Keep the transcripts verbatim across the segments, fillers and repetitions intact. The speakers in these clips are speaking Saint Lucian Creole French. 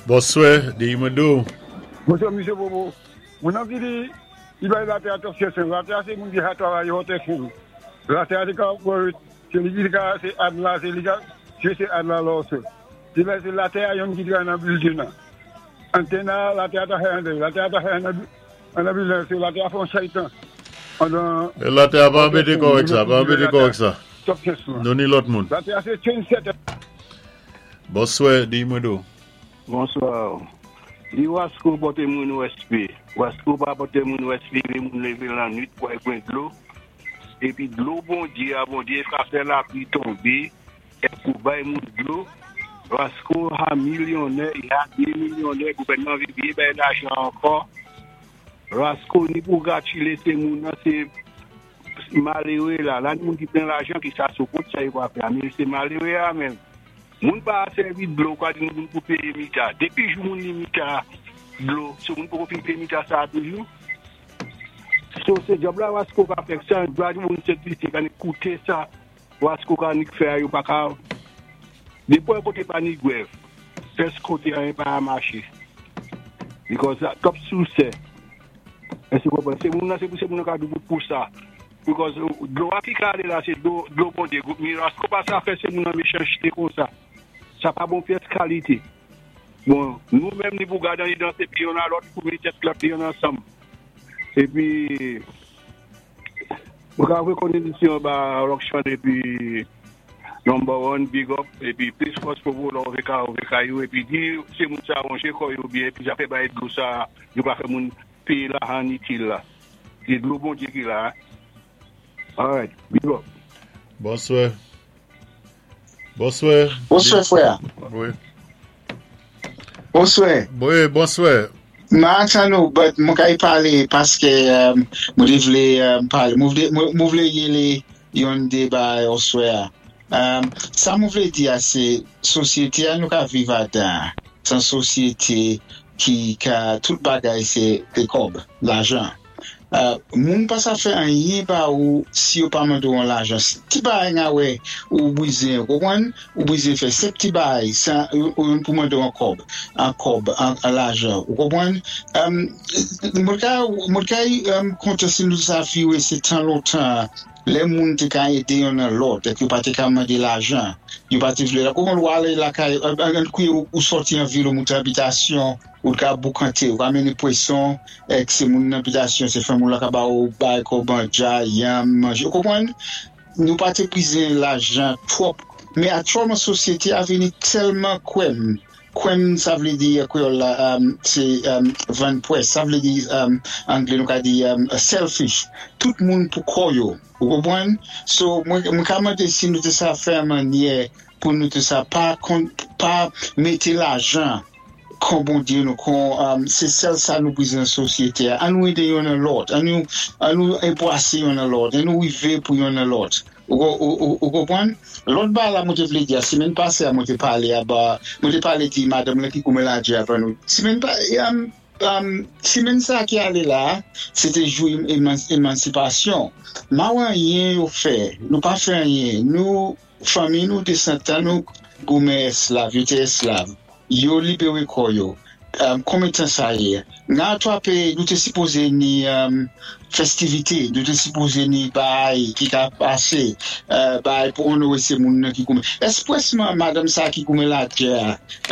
Bonswè, di mwen dou. Bonswa, Misye Bobo. Mwen anvi di, i bay Latè a twòp chans. Latè a sé moun ki ka twavay Hot F M. Latè a sé ka, sé li ki ka, sé ad la, sé li ka, sé sé ad la lò sé. Sé la, sé Latè a yonn ki travay nan building nan. Antenn a, Latè a ta fè an Latè a ta fè an an building, sé Latè a fè yon chaytan. Andan Latè a pa anbété kò ak sa, pa anbété kò ak sa. Twòp chans la. Nou ni lòt moun. Latè a sé trendsetter. Bonswè, di mwen dou. Bonswa. Di Wasko pòté moun wèspé. Wasko pa pòté moun wèspé, lè moun lévé lannwit pou al pwan dlo. Épi dlo Bondyé a Bondyé ka fè lapwi tonbé é pou bay moun dlo. Wasko a milyonnè, i a dé milyonnè, gouvèdman vi byen bay lajan ankò. Wasko ni pou gratilé sé moun nan sé maléwé la. La ni moun ki plen lajan ki sa sou kont sa yo pa fè. Men sé maléwé a menm. Moun pa sèvi dlo kwa di moun pou péyé mita. Dépi jou moun ni mita dlo, sou moun pou fin péyé mita sa toujou. So sé djòb la Wasko ka fè sa, dwa di moun Sent Lisi ka ni kouté sa Wasko ka ni fè yo pa ka. Dépi koté pa ni gwèv, pès koté anyen pa maché. Because twòp sousè. Èské ou konpwann? Sé moun nan, sé pou sé moun nan ka doubout pou sa. Because dlo a ki ka alé la, sé dlo, dlo Bondyé. Mi Wasko pa sa fè sé moun nan méchancheté kon sa. Sa pa bon pyès kalité. Bon, nou menm ni pou gade ni dansé pi yon a lòt pou mé tèt lòt yon ansanm. Épi, mwen ka wé ba Rockshan épi number one, big up, épi plis fòs pou wou lò V K ou V K U, épi di sé moun sa wanjé kò yo byen, épi sa fè bay dlo sa, yo pa fè moun péyé lajan itil la. Sé dlo Bondyé ki la. Alright, big up. Bonswè. Bonswè. Bonswè, frè. Wi. Bonswè. Wi, bonswè. Ma nou, but mwen ka y palé paské mwen te vlé palé. Mwen vlé mwen vlé yélé yon déba oswè. Um, sa mwen vlé di a sé sosyété a nou ka viv adan. San sosyété ki ka tout bagay sé de kòb, lajan. Uh, moun pa sa fè anyen ba ou si yo pa mande ou an lajan. Ti bagay nga wè ou bwizen, ou konpwann? Ou bwizen fè sèp ti bagay san ou ou pou mande ou an kòb, an kòb, an, an lajan. Ou konpwann? Um, mwen ka, mwen ka um, konte si nou sa fiwe se tan lontan, lè moun te ka édé yon nan lòt, ek yo pa te ka mande lajan, yo pa te vle la. Kouman ou ale lakay, an, an kouye ou, ou soti an vil ou moute abitasyon, ou ka boukanté, ou ka mene pweson, ek se moun nan abitasyon, se fè moun la ka ba ou bay koban, dja, yam, manje. Ou konpwann? Nou pa te bwizen lajan twòp. Men aktyèlman sosyété a vini tèlman kwèm. Kwèm sa vlé di kwéyòl la, um, sé um, vann pwès. Sa vlé di um, anglé nou ka di um, selfish. Tout moun pou kò yo. Ou konpwann? So, mwen, mwen ka mande si nou te sa fè an mannyè pou nou te sa pa, kon, pa mété lajan kon Bondyé nou, kon, um, sé sèl sa nou bwizen nan sosyété a. An nou édé yon nan lòt, an nou, an nou enbwasé yon nan lòt, an nou wivé pou yon nan lòt. Ou, ou, ou, ou konpwann? Lòt ba la mwen te vlé di a, simèn pasé a mwen te palé a ba, mwen te palé di madanm la ki koumen la dje avan nou. Simèn pa, um, um, simèn sa ki alé la, sété jou emans, émansipasyon. Ma wè anyen yo fè, nou pa fè anyen. Nou, fanmi nou desandan nou goumen èsklav, yo té èsklav. Yo libéré kò yo. Um, konbyen tan sa yé? Nan twa péyi, nou té sipozé ni um, festivité, nou té sipozé ni bay ki ka pasé, uh, bay pou onoré sé moun nan ki goumen. Espresman madanm sa ki goumen la djè,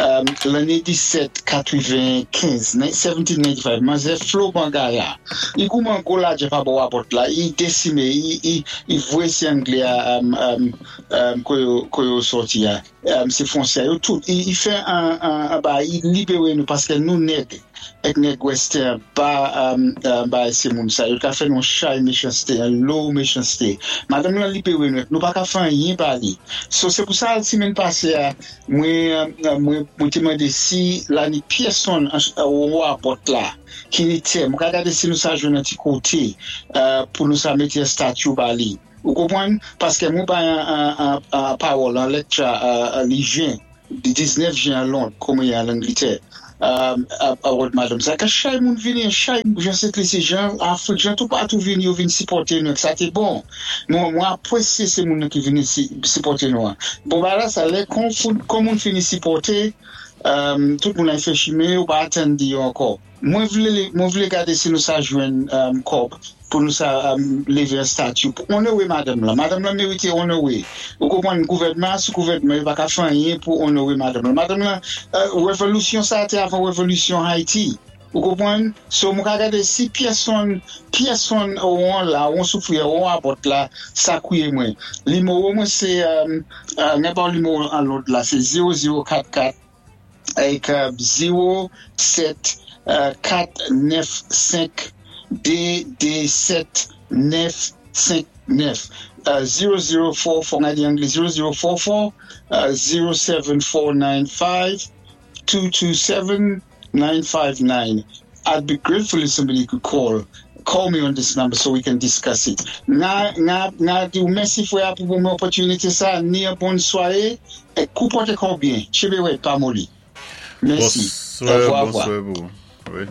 um, lanné mil sèt san katrevenkenz, mil sèt san katrevenkenz, manzè Flo Bangaya, i goumen gwo lajè pa bò wapot la, i désimé, i, i, i vwé sé Anglé a, um, um, um, ko yo, ko yo sòti a, um, sé Fwansè yo tout, i, i fè an, an, an ba, i libéré nou paské nou nèg, ek nèg western ba, um, uh, ba sé moun sa, yo ka fè nou chay méchansté, an lo méchansté. Madanm lan libéré nou, nou pa ka fè anyen ba li. So sé pou sa simèn pasé a, mwen, mwen, mwen te mande si la ni pyèsonn ou wapot la, ki ni tè, mwen ka gade si nou sa jwenn an ti koté, uh, pou nou sa mété estati ba li. Ou konpwann? Paské mwen bay an, an, an, an pawòl, an lecture, uh, li jen, di diznèf jen an Londres, koumen an Angletè. Um, a wòd madanm sa, ka chay moun vini, chay jan Sent Lisi, jan Afrik, jan tout patou vini, yo vini sipòté nou, sa té bon. Mwen, mwen apwésyé sé moun ki vini si, sipòté nou an. Bon, ba la sa, lè kon, kon moun fini sipòté, Um, tout moun ay fè chimen, ou pa atann di yo ankò. Mwen vlé, mwen vlé gadé si nou sa jwenn um, kòb pou nou sa um, lévé an stati pou onoré madanm la. Madanm la mérité onoré. Ou konpwann gouvèdman, sou gouvèdman, yo pa ka fè anyen pou onoré madanm la. Madanm la, euh, révolisyon sa té avan révolisyon Haiti. Ou konpwann? So mwen ka gadé si pyèsonn, pyèsonn ou an la, ou an soufri, ou an abòt la, sa kwiyé mwen. Nimewo mwen sé, um, uh, nenpòt nimewo an lòd la, sé zewo zewo kat kat ak euh, zewo sèt kat nèf senk de de sèt nèf senk nèf. zewo zewo kat kat, an anglé zewo zewo kat kat zewo sèt kat nèf senk de de sèt nine five nine. I'd be grateful if somebody could call call me on this number so we can discuss it. Nga, nga, nga di ou mèsi fwè pou pou mwen opòtinité sa, ni yon bòn swaré, é kou pòté kò byen. Tchenbé wèd, pa moli. Mèsi. Bonswè, Orevwa, bonswè pou. Wi.